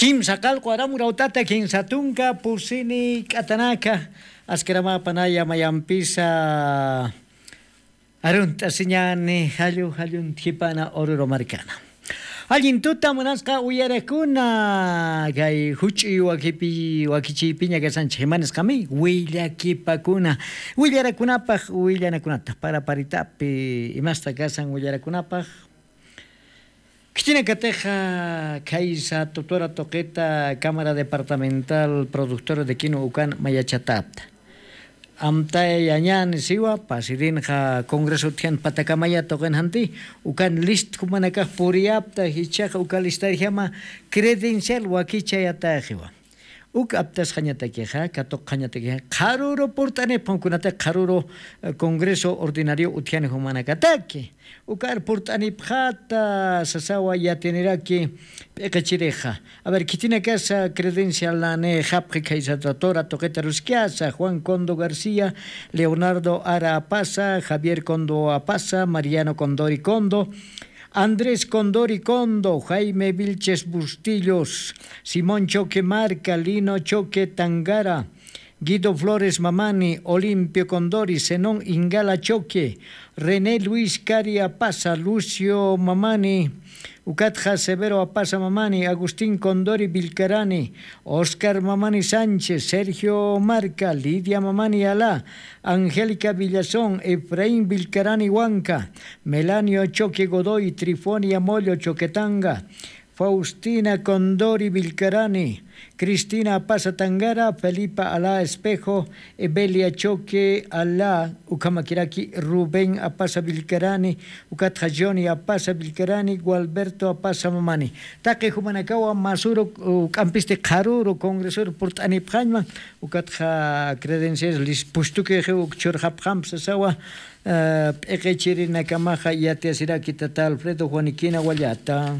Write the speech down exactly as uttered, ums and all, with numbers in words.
Kimsa qallqu aram urawt'ata kinsa tunka pusini k'atanaka, askaramäpanaya mayampisa arunt'asiñäni jallu jalluntjipana ururu markana. Allin tuta munasqa uyarakuna, kay juch'uy wakipi wakichiypiña kasanchik imanisqami willakipakuna, willarakunapaq willanakunata paraparitapi imasta kasan willarakunapaq. Khitinakatixa khaysa tutura tuqita cámara departamental productora de quino ukan mayachatäpta. Amtayañäni siwa pasirinxa congreso utjian patakamaya tuqin janti, ukan list jumanakax puriyapta jichhaxa uka listarjama credencial wakichayatäxiwa. Uk aptasxañatakixa katuqxañatakixa qharüru purt'anipxam kunatix qharüru congreso ordinario utjani jumanakataki. Ukar purt'anipxata sasawa yatiyaniraki. P'iqichirixa a ver khitinakasa credencial nani japqi khaysa doctora tuqita ruskiyasa juan condo garcía, leonardo ara apasa, javier condo apasa, mariano condori condo, andrés condori condo, jaime vilches bustillos, simón choque marca, lino choque tangara, guido flores mamani, olimpio condori, zenón ingala choque, rené luis cari apasa, lucio mamani, ukatxa severo apasa mamani, agustín condori vilcarani, oscar mamani sánchez, sergio marca, lidia mamani alá, angélica villazón, efraín vilcarani huanca, melanio choque godoy, trifonia mollo choquetanga, faustina condori vilcarani, cristina apasa tangara, felipa alá espejo, ebelia choque alá, ukhamakiraki rubén apasa vilcarani, ukatxa johnny apasa vilcarani, gualberto apasa mamani. Taqi jumanakawa masuru k'ampisti qharüru congresor purt'anipxañma, ukatxa credencias lis pustukixi uk churxapxamp sasawa. P'iqichirinakamaxa yatiyasiraki tata alfredo juaniquina wallata.